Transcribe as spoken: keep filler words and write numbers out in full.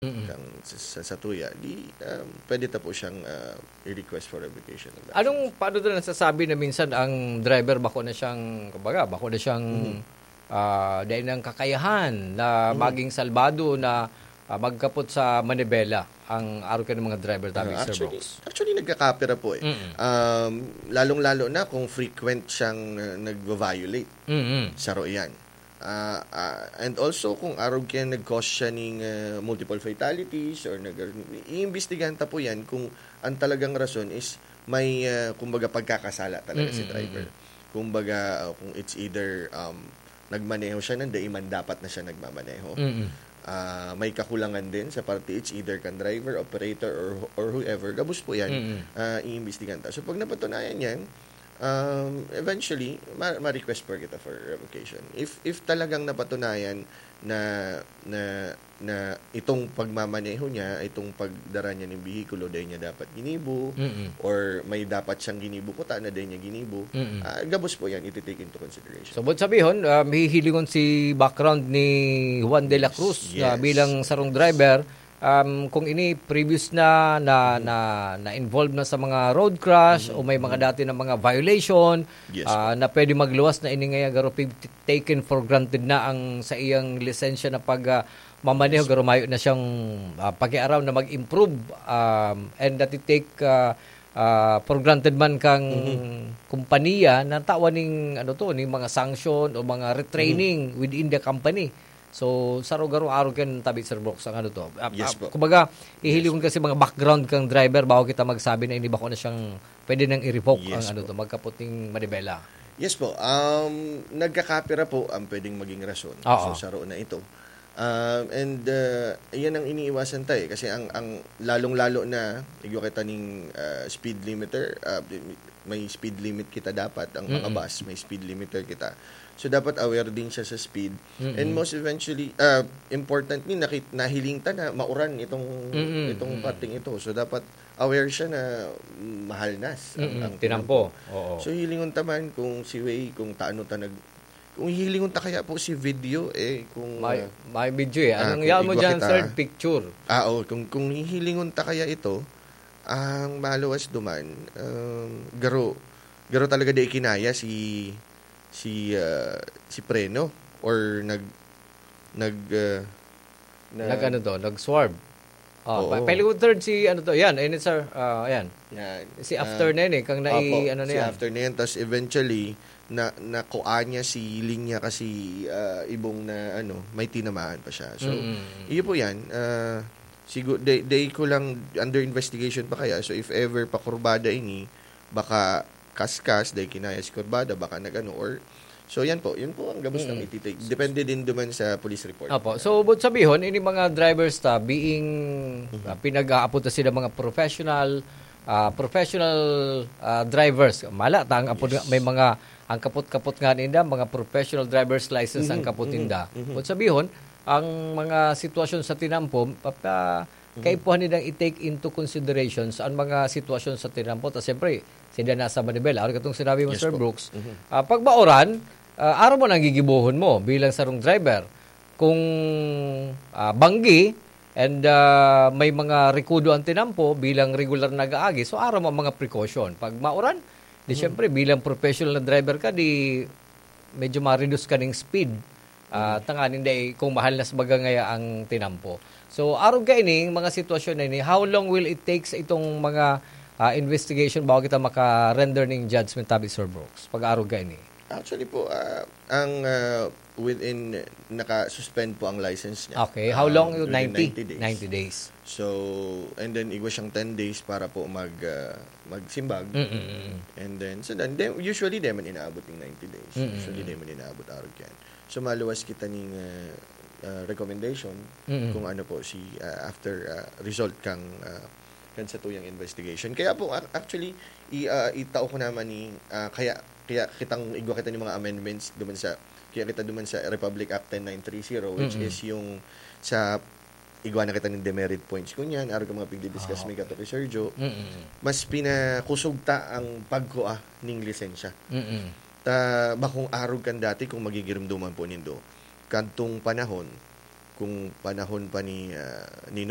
Mm. Kang sa, sa, sa tuya, di, um, pwede ta po siyang, ah, i-request for revocation of license. Anong, paano na nasasabi na minsan ang driver bako na siyang, kumbaga, bako na siyang, Mhm. ah, dai nang kakayahan na Mhm. maging salbado na, ah, magkapot sa manibela ang arog kan mga driver tabi, Ah, Sir actually, Brooks? actually, nagkakapira po eh. Mm. Um, lalong-lalo na kung frequent siyang, ah, nagva-violate. Mm. Saro yan. Ah, ah, and also, kung arog kaya nag-cause siya ning, ah, multiple fatalities or nag-, iimbestigahan ta po yan kung ang talagang rason is may, ah, kumbaga, pagkakasala talaga si Mm, driver. mm, mm. Kumbaga, ah, kung it's either, um, nagmaneho siya nang dai man dapat na siya nagmamaneho. Mm. Ah, may kakulangan din sa parte, it's either kan driver, operator, or, or whoever. Gabos po yan, Mm. ah, iimbestigahan ta. So, pag napatunayan yan, um, eventually, ma-, ma-request po kita for revocation. If, if talagang napatunayan na, na, na itong pagmamaneho niya, itong pagdara niya ng bihikulo, dai niya dapat ginibo, Mm. or may dapat siyang ginibo kuta na dai niya ginibo, Mm. ah, gabos po yan, iti-take into consideration. So, buot sabihon, um, hihilingon si background ni Juan de la Yes, Cruz na yes. bilang sarong driver, um, kung ini previous na, na, Mhm. na, na-involve na sa mga road crash Mhm, o may mga mhm. dati na mga violation, Yes ah, po. na pwede magluwas na ini ngaya garo pig-, taken for granted na ang sa iyang lisensya na pag, ah, mamaneho, Yes. garo mayo na siyang, ah, pakiaram na mag-improve, um, and that it take, ah, ah, for granted man kang Mhm. kompanya na tawan ning, ano to, ning mga sanction o mga retraining Mhm. within the company. So, saro garo arog kan tabi, Sir Brooks, ang ano to. Ah, Yes ah, po. kumbaga, Yes. hihilingon kasi mga background kang driver bago kita magsabi na ini bako na siyang pwede nang i-revoke Yes ang ano po. to, magkapot ning manibela. Yes po. Um, nagkakapira po ang pwedeng maging rason. Oo. So, saro na ito. Um, and, uh, yan ang iniiwasan tayo eh. Kasi ang, ang lalong-lalo na, igwa kita ning, uh, speed limiter, uh, may speed limit kita dapat, ang mga Mm-mm. bus, may speed limiter kita. So, dapat aware din siya sa speed. Mm-mm. And most eventually, uh, importantly, nakit-, nahiling ta na mauran itong, Mm-mm. itong Mm-mm. parting ito. So, dapat aware siya na mahalnas ang, Mm-mm. ang Tinampo. tinampo. Oo. So, hilingon ta man kung si Way, kung taano ta nag-, kung hihilingon ta kaya po si video, eh, kung, May, ah, may video eh. ah, Anong kung yaon mo igwa dyan, kita, sir? Picture. Ah, oo. Kung, kung hihilingon ta kaya ito, ang maluwas duman, um, garo, garo talaga di ikinaya si, si, ah, si preno or nag, nag, ah, na Nag-ano to? Nag-swerve. Oh, Oo. pa-, pahilingkod third si ano to? Yan, ayun, sir. Ah, ayan. Yan. Si after Ah, na yun eh, kang nai-, opo, ano na si yan. after na yan. Tas eventually, na, nakuha niya si linya kasi, ah, ibong na, ano, may tinamaan pa siya. So, Mm. iyo po yan. Ah, sigu-, day, day ko lang under investigation pa kaya. So, if ever pakurbada ini, baka kaskas, dahil kinaya si kurbada, baka nag-ano, or, so yan po, yun po ang gabos ng Mm. ititake. Depende din duman sa police report. Opo. So, but sabihon, ini mga drivers ta, being, Mhm. ah, pinag-aapod ta sila mga professional, ah, professional, ah, drivers. Mala ta, ang apod Yes. nga, may mga, ang kapot-kapot nga ninda, mga professional driver's license ang Mhm, kapot mhm, ninda. mhm. But sabihon, ang mga sitwasyon sa tinampo, papa-, Mhm. kaipuhan nindang i-take into consideration sa ang mga sitwasyon sa tinampo. Ta siyempre, sila nasa manibela. Ano katong sinabi mo, Yes Sir po. Brooks? Mhm. Ah, pag mauran, ah, aro mo nang gigibohon mo bilang sarong driver. Kung, ah, banggi and, ah, may mga rekudo ang tinampo bilang regular na nag-aagi, so aro mo ang mga precaution. Pag mauran, di Mhm. siyempre, bilang professional na driver ka, di medyo ma-reduce ka ning speed. Ah, Mhm. tanganing dai kung mahalnas baga ngaya ang tinampo. So, arog kaini, mga sitwasyon na ini, how long will it take sa itong mga, ah, investigation bago kita maka-render ning judgment tabi, Sir Brooks? Pag-arog kaini. Actually po, ah, ang, ah, within, naka-suspend po ang license niya. Okay, how long Um, yun? within Ninety? ninety days. Ninety days. So, and then igwa siyang ten days para po mag, ah, magsimbag. Mm, mm, mm. And then, so then, then, usually, di man inaabot yung ninety days. Mm, mm, Usually, mm. di man inaabot arog yan. So, maluwas kita ning, ah, ah, recommendation Mm. kung ano po si, ah, after, ah, result kang, ah, kan sa tuyang investigation. Kaya po, ac-, actually, i-, ah, itao ko naman ni, ah, kaya, kaya kitang igwa kita ni mga amendments duman sa, kaya kita duman sa Republic Act ten nine three zero, which Mm. is yung sa igwa na kita ning demerit points. Kunyan, arog ka mga pigdi-discuss Ah, may okay. kato kay Sir Joe, Mm. mas pinakusog ta ang pagkua ning lisensya. Mm. Ta, bakong arog kan dati kung magigirumduman po nindo. Kadtong panahon, kung panahon pa ni, ah, Nino,